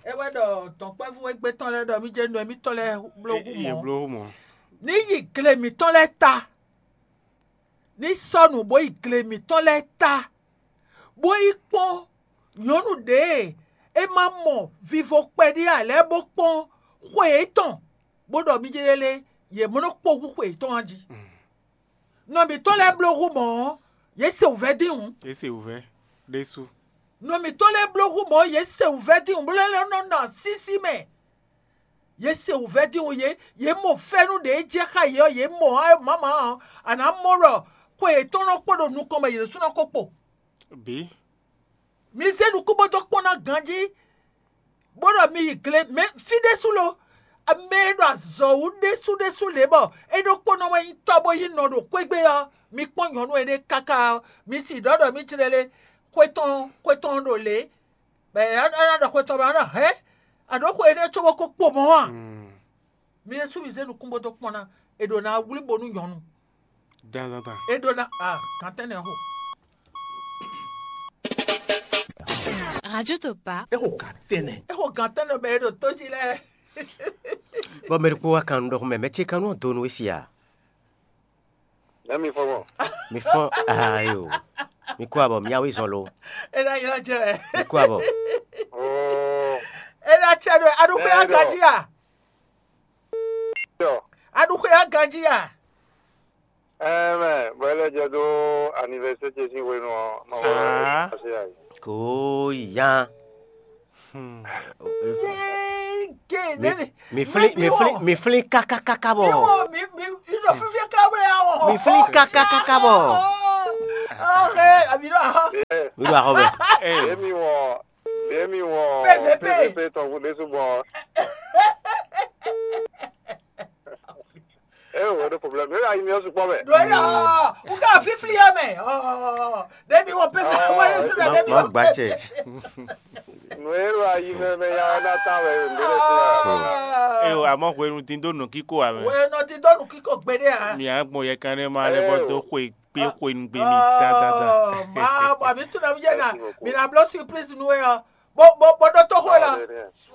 É wɛ ɖɔ dɔ̌nkpɛvú égbé tɔn lɛ́ɛ ɖɔ mí jɛ nú mítɔn lɛ́ɛ bló hú mɔ̌. Ní yi gle mǐtɔn lɛ́ɛ ta, ní sɔ́ nǔ bó yi gle mǐtɔn lɛ́ɛ ta, bó yi kpɔ́n nyɔ̌nu ɖě e é ma mɔ vivo kpɛɖé ǎ lɛ́ɛ bó kpɔ́n xwe yětɔn, bó ɖɔ mí jɛ lé yě mɔ nɔ kpó hú xwe yětɔn jí. Nɔ mǐtɔn lɛ́ɛ bló hú mɔ̌ ɔ́, yě se wǔvɛ́ dín hǔn. Yě se wǔvɛ́ ɖésú. Nɔ mǐtɔn lɛ́ɛ bló hú mɔ̌ yě se wǔvɛ́ dín hǔn, bó lɛ́ nɔ nɔ asísí mɛ. Yě se wǔvɛ́ dín hǔn, yě yě mɔ fɛ́nú ɖě jɛ xá yě ɔ́, yě mɔ ɔ́ mǎmǎ ɔ́, a nǎ mɔ ɖɔ xwe yětɔn nɔ kpo ɖo nukɔn mɛ yě ɖésú nɔ ko kpo. Bǐ. Mi zé nukún bó dó kpɔ́n ná ganjí, bó ɖɔ mi yi gle mɛ fí ɖésú lo. Mɛ e ɖo azɔ̌ wú ɖésú ɖésú lě bɔ é ɖokpónɔ wɛ nyí tɔ́ bó yí nɔ ɖo xwégbé ɔ́, mi kpɔ́n nyɔ̌nu énɛ́ káká ɔ́, mi sì ɖɔ ɖɔ mí jlɛ́ lé xwé tɔn xwé tɔn ɖo lě, bɔ è ná ɖɔ xwé tɔn bɔ é ná ɖɔ hɛ̌, a ɖǒ xwe énɛ́ cóbó ko kpo mɔ̌ a? Mi ɖésú mi zé nukún bó dó kpɔ́n ná, è ɖǒ ná wlí bo nú nyɔ̌nu. Dandandan. É ɖó ná a gantɛ́nɛ xo. Radio Topa. É xo gantɛ́nɛ. É xo gantɛ́nɛ bɛ é ɖo tó jí lɛ́ɛ. Bɔ mɛ ɖokpó wá kan nú ɖɔxɔmɛ, mɛ ce kan nú ɔ́ donu é si a? Nɛ mi fɔ mɔ. Mi fɔ ayo. Mi kó abɔ mi awe zɔn lo. É ná ylɔ́ jɛ wɛ. Mi kó abɔ. Oh. É ná cɛ ɖo aɖúgbé aganjí a? Yɔ. Aɖúgbé aganjí a? Ɛɛ mɛ, bɔ é lɛ jɛ dó anivɛsɛ ce sín hwenu ɔ́, ma wɛ ase ayi. Kò yá. Hmm. Yéé gé Mi- nɛni. Mi flín, mi flín, mi flín kákákáká bɔ. Mi wɔ mi mi mi ɖo fífí ká wlé awɔ. Mi flín kákákáká bɔ. Ɔhe, àbí ɖo ahɔ. Mi ɖo axɔ mɛ. Ee, Emi wɔ, emi wɔ P V P. P V P tɔn vo ɖésú bɔ. Eh, wɔ ɖo problème. Yóò yà yí mi ɔsùn kpɔ mɛ. Ɖo yà, wúkà fífí yà mɛ. Ɔɔ, ɖebi wɔ pé fún wa ní sùn má má gbà tsɛ. Nù e ɖo ayi mɛ mɛ ya ɔ́ ná ta wɛ ɖo nǔɖé ɖé fún wa. Ee, àmọ́ hwenu dín dó nǔkíkó ǎ mɛ. Wɛ nɔ dín dó nǔkíkó gbeɖé ǎ. Mi á gbɔn yɛ kan nɛ ma lɛ bɔ dó xwe kpé xwe nu gbe mi dandandan. Má bɔ mi tún nɔ mi yé na mi na bló surprise nú ɛ ɔ. Bó bó bó ɖó tó xwe lɔ.